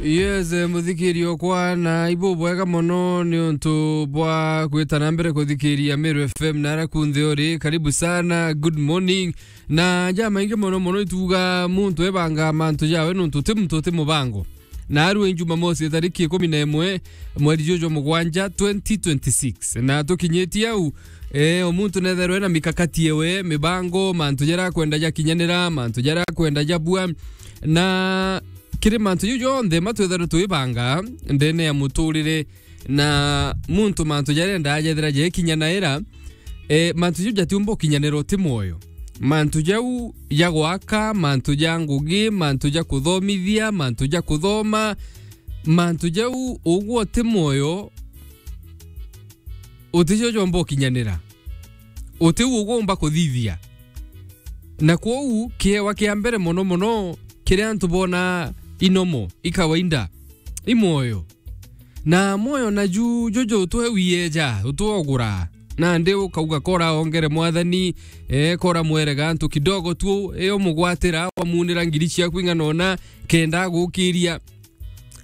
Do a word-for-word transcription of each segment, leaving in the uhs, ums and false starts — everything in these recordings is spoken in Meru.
Yes, eh, muthikiri okwa, na ibu bwega mono ni untu bwa kwita na mbere kuthikiria Meru F M na ara kunthe uri. Karibu sana, good morning. Na ja maingi mono mono ituga muntu ebanga mantu jawe nuntu ti muntu ti mubango. Na arua Jumamosi tariki ikumi na imwe mweri juju jwa mugwanja twenty twenty-six. Na tukinyitie au, eh, o muntu netherwe na mikakati ewe, mibango, mantu jaria akwenda jakinyanira, mantu jaria akwenda jabua. Na kiri mantu jau jonthe matwithairwe twibanga ndene ya muturire, na muntu mantu jaria endaa jethira jekinyanaira, eh, mantu jau jatiumba ukinyanira uti mwoyo. Mantu jau ja gwaka, mantu ja ngugi, mantu ja kuthomithia, mantu ja kuthoma, mantu jau ugwe uti mwoyo, uticio jomba ukinyanira. Utiu ugumba kuthithia. Na kwou kiewa kia mbere mono mono kiria antu bona inomo, i kawaida, i mwoyo. Na mwoyo naju juju utwe wieja, utwogura. Nandi ukauga kora ongere mwathani, eh, kora mwerega antu kidogo tu, eh, umugwatira, wamunira ngiri ciaku ing'ana ona, kenda agukiria.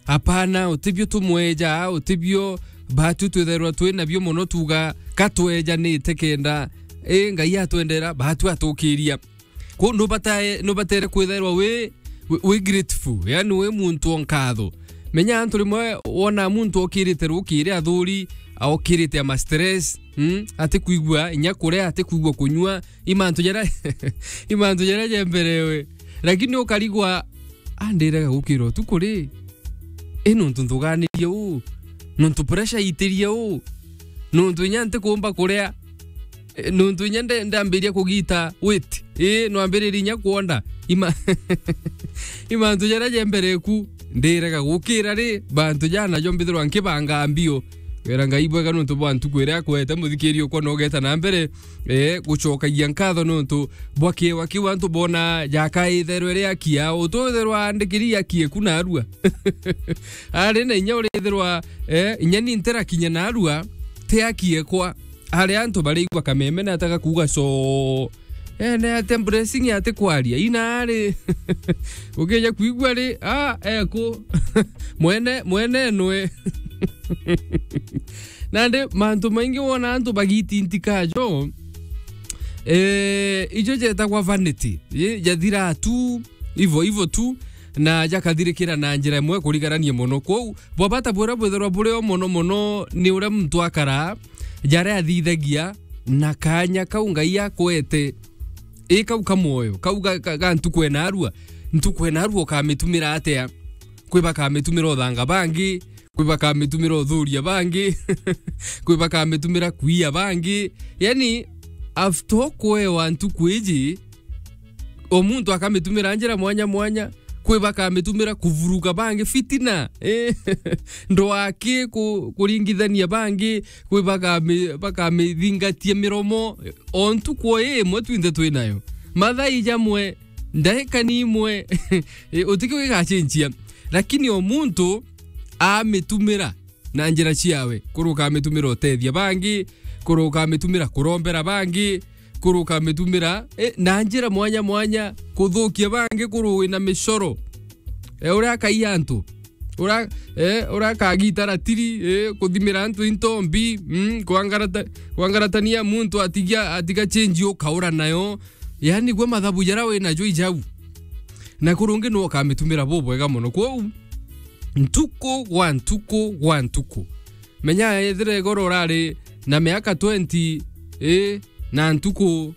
Apana, utibio tumweja, utibio batu twithairwa twi nabio mono tuga, ka twejanite kenda, i, Ngai atwendera, batu atukiria. Kwou nubatae-, nubatere kwithairwa wi, wi, wi grateful, yani wi muntu o nkatho. Menya antu rimwe wona muntu okirite rukiri athuri, okirite ama stress, mm, atikwigua inya kuria, atikwigua kunyua, i mantu jaria, i mantu jaria jemberewe. Lakini ukarigwa, "Ah, ndirega gukira utuku ri? I nuntu nthuganirie uu? Nuntu pressure itirie uu? Nuntu inya ntikumba kuria? Eh, nuntu inya nde-, ndambiria kugita weight? Ii, nwambiririe inya kwonda?" Ima-, i mantu jaria jembereku, ndirega gukira ri, bantu jana jo mbithirwa nkibanga mbio. Wira Ngai bwega nuntu bwa ntuku iria akwete, muthikiri ukwa nogeta na mbere, eh, gucokagia nkatho nontu bwa kiewa kiu antu bona jakaitherwe riakia, utwitherwa andikiri akie ku narua. Ari na inya urithirwa, eh, inya ni ntirakinya narua, ti akie kwa. Ari antu barigwa kameme na ataka kuuga so. Eh, ne ate blessing ate kwaria. Ina ari. Ukija kuigua ri, ah, eko. Mwene, mwene nwe. Nandi mantu maingi wona antu bagitintika jo, eh, ijo jetagwa vanity. Ye, jathira tu, ivo, ivo tu, na jakathirikira na njira imwe kurigarania mono. Kwou, bwabata buria bwithirwa buri o mono mono ni uria muntu akara, jaria athithagia, na kanya kau Ngai akwete. I kau ka mwoyo, kau ga, ga, ga ntuku enarua. Ntuku enarua ukamitumira atia? Kwi bakamitumira uthanga bangi, kwi bakamitumira uthuria bangi, kwi bakamitumira kuia bangi. Yani, after kwewa ntuku iji, o muntu akamitumira njira mwanya mwanya, kwi bakamitumira kuvuruga bangi, fitina, eh, ndwaki ku-, kuringithania bangi, kwi bakami-, bakamithingatia miromo, o ntuku o imwe twinthe twi nayo. Mathaa ijamwe, ndaika ni imwe, eh, utiki wigachenjia. Lakini o muntu amitumira na njira ciawe. Kuru ukamitumira utethia bangi, kuru ukamitumira kurombera bangi, kuru ukamitumira, eh, na njira mwanya mwanya kuthukia bangi, kuru wina micoro. Eh, uria akai antu. Ura, eh, uria akagita ratiri, eh, kuthimira antu into mbi, mm, kwangarata-, kwangaratania muntu atigia, atiga change ukaura nayo. Yani, gwe mathabu jaria wina jo ijau. Na kurungi no ukamitumira bubwega mono. Kwou, ntuku gwa ntuku gwa ntuku. Menya ethira igoro urari na miaka twenty, eh, na ntuku,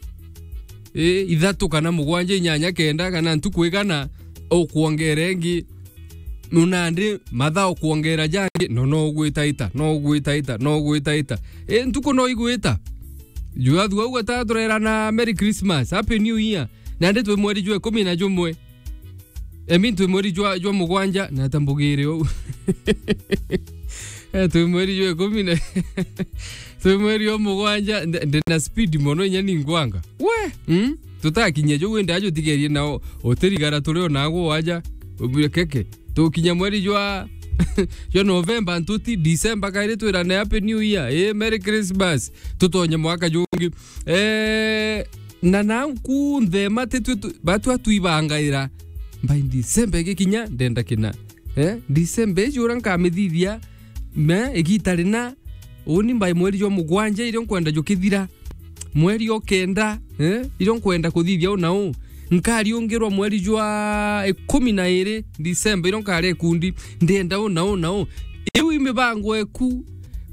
eh, ithatu kana mugwanja, inyanya, kenda, kana ntuku igana, ukwongera ingi. Nunandi mathaa ukwongera jangi, no, no ugwitaita, no ugwitaita, no ugwitaita. Eh, ntuku no igwita. Jua thua ugweta turera na Merry Christmas, Happy New Year. Nandi twi mweri jwa ikumi na jumwe. Emi, twi mweri jwa, jwa mugwanja, na tambugire uu. Eh, twi mweri jwa ikumi na, twi mweri jwa mugwanja, ndi, ndi na speed mono, inya ni ngwanga. We! Mm? Tutakinya jo wenda ajo tigerie nao, utirigara turi o nago waja, ubire keke. Tukinya mweri jwa, jwa November, ntuti December, kairi twirane Happy New Year, eh, Merry Christmas, tutonye mwaka jungi. Eh, na nau kunthe mati twi tu-, batwa twibangaira. By December igikinya, ndenda kina. Eh, December iji uria nkamithithia, me, igita rina, uni mbai mweri jwa mugwanja irio nkwenda jukithira. Mweri o kenda, eh, irio nkwenda kuthithia u na u. Nkariungirwa mweri jwa ikumi na iri December, irio nkaria ikundi, ndienda u na u na u. Iu i mibango eku,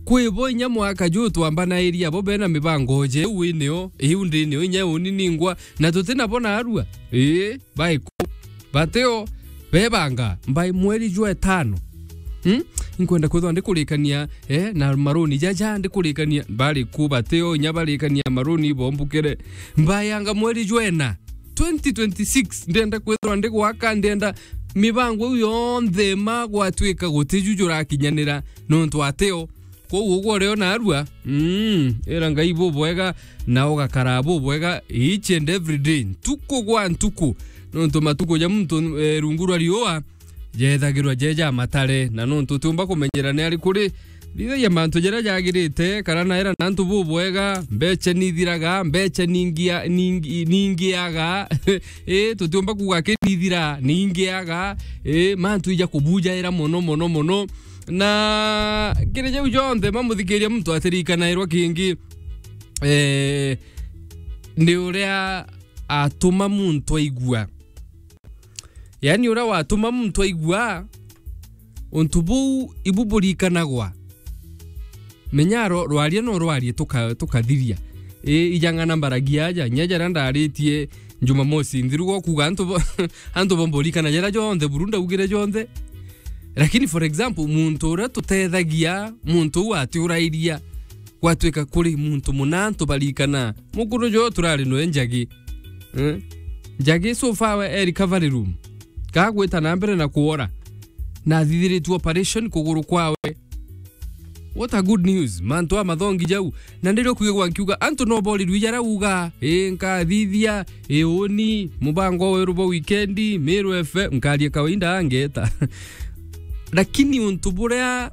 kwi bo inya mwaka ju twambanairia, bo bena mibango je, iu inio, iu ndinio, inya uni ningwa, na tutina bo narua. Ii, baiku. Bateo, bebanga, mbai mweri jwa etano. Hmm? Inkwenda kwithwa ndikurikania, eh, na maruni jaja ndikurikania, bari ku bateo, inya barikania maruni bombukire. Mbayanga mweri jwa ena, twenty twenty-six, ndienda kwithwa ndigwaka, ndienda mibango iu yonthe ma gwatwika gutiju jurakinyanira nontu ateo. Kwou ugwo urio narua, mm, ira Ngai bubwega, na ugakara bubwega each and every day, ntuku gwa ntuku, nontu matuku ja muntu, eh, rungu rwa riua jethagirwa jeja matare, na nontu utiumba kumenyera ni ari kuri, thithagia mantu jaria jagirite, kana naira na antu bubwega, mbecha nithiraga, mbecha ningia-, ningi-, ningiaga, ii, tutiumba kuuga kinithira, ningiaga, ii, mantu ija kubujaira mono, mono, mono. Na kiri jau jonthe, mamuthikiria muntu atirikanairwa kingi, eh, ni uria atuma muntu aigua. Yani, uria watuma muntu aigua, untu buu ibu burikanagwa. Menya ro-, rwaria no rwarie tuka-, tukathiria. I, ijang'ana mbaragia aja, nya jaria ndaritie Jumamosi nthiru, gwa kuuga antu bo-, antu bomba urikana jaria jonthe buru ndaugire jonthe. Lakini, for example, muntu uria tutethagia, muntu uu atiurairia, gwatwika kuri muntu muna antu barikana, mukuru jo turari noe Njagi. Eh? Njagi so far we e recovery room. Kagwita na mbere na kuora. Na athithiritue operation kuguru kwawe. What a good news. Mantu a mathongi jau. Na ndirio kwigwa nkiuga, antu no borirwe jaria uga, "Ii, nkathithia, ii, uni, mubango weru bwa wikendi, Meru F M, nkaria kawaida angeta." Lakini untu buria